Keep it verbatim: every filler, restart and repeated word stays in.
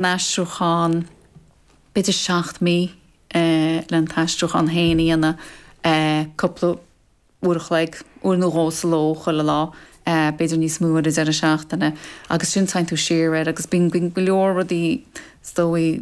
Aistriúchán b'fhéidir seacht mí eh, le an t-aistriúchán féin a dhéanamh eh, cúpla uair a chloig uair nó dhó sa ló chuile lá. Uh, b'fhéidir níos mó ar deireadh seachtaine agus sin téann tú siar air agus bíonn go leor rudaí is dóigh